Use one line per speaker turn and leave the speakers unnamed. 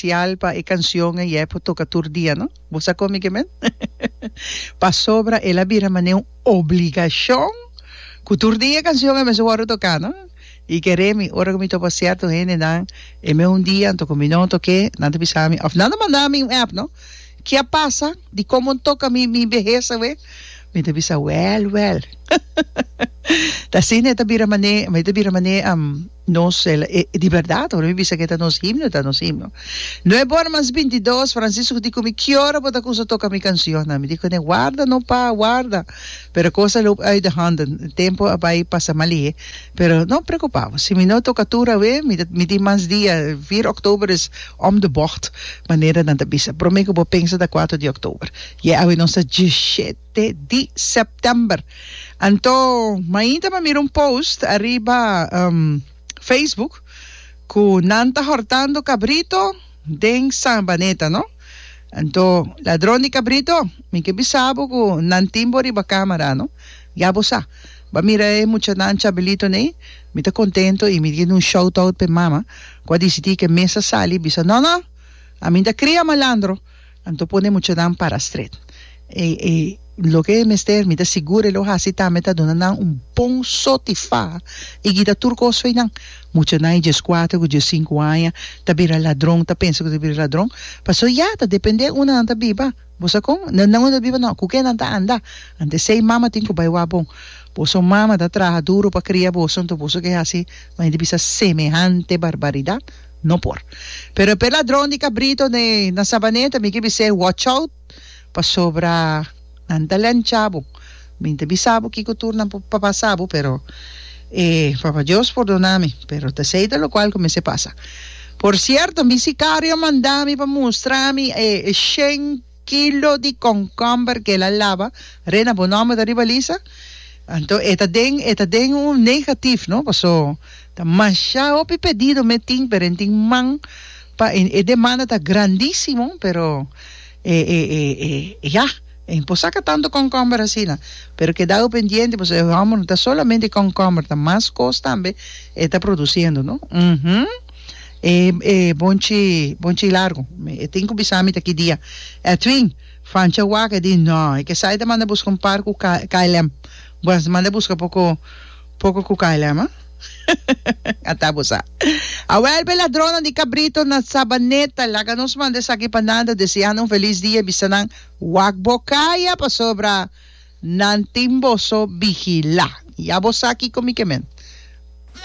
spesial pa e kanshon ei e por toka tur dia, no? Bo sa kon mi ke men? Pasobra el a bira manera un obligashon ku tur dia e kanshon ei mester wòrdu toká, no? I kere mi, ora ku mi topa sierto hendenan, e mes un dia anto ku mi no tok'é, nan ta bisa mi, òf nan ta manda mi un app, no? Ke a pasa? Dikon bo no toka mi mi behes awe? Mi ta bisa, wèl, wèl. Ta asina e ta bira manera, e ta bira manera nos, e di bèrdat, ora mi bisa ku e ta nos himno, e ta nos himno. Nuebe ora mas bintidos, Francisco di ku mi, Ki ora bo ta kusa toka mi kanshonnan? Mi di kuné, Warda no pa, warda. Pero kos a loop uit de handen, tempu a bai pasa malihé. Pero no preocupa bo, si mi no toca tur awe, mi ta mi tin mas dia, vier october is om de bocht, manera nan ta bisa. Prome cu bo pensa ta cuatro di october. Ye awe nos ta dieshete di september. Anto, mainta mi a mira un post ariba Facebook cu nan ta hortando cabrito den Sabaneta, no? Anto, ladron di cabrito, mi ke bisa bo cu nan tin bo riba camera, no? Ya bo sa. Bo a mira e muchanan chabelito nei? Mi ta contento y mi tin un shout out p'e mama cu a dicidi cu e mes a sali y bisa, No, no! Ami ta cria malandro! Anto pone e muchanan para stret. E, e loke e mester, mi ta sigur e lo haci tambe ta duna nan un bon sotifa y kita tur cos fo'i nan. Muchanan e diescuater cu diescinco aña ta bira ladron, ta pensa cu ta bira ladron, pasobra ya ta depende unda nan ta biba. Bo sa kon? Nan nan ta biba no, ku ke nan ta anda? Ante esei mama tin ku bai wak bon. Boso mama ta traha duru pa kria boso, anto boso ke hasi manera di bisa semehante barbaridat? No por. Pero p'e ladron di kabrito ne na Sabaneta mi ke bis'é watch out pasobra nan ta lencha bo. Mi ta bisa bo kiko tur nan por pasa bo, pero e Papa Dios pordona mi, pero ta esei ta lokual ku mester pasa. Por sierto, mi sikario a manda mi pa mustra mi e shen kilo di konkomber ku el a laba. Rena, bo nòmber ta riba lista? Anto e ta den, e ta den un negatif, no? Paso ta masha hopi pedido mi tin, pero e tin man pa e demanda ta grandísimo, pero e e e e ya. E por saca tanto concomber asina, pero keda pendiente pasobra e homber no ta solamente concomber, ta mas cos tambe e ta produciendo, no? Uhum. E e bonchi bonchi largo, e tin cu bisa mi ta ki dia. Edwin, Fancha wak e di no, e ke sa e ta manda busca un par cu KLM. Bueno, manda busca poco poco cu KLM, ah. Ata bo sa. Awel p'e ladronnan di cabrito na Sabaneta, laga nos manda esaki pa nan ta deseando un feliz dia, bisa nan wak bo caya pasobra nan tin boso vigila. Ya bo sa kico mi ke men.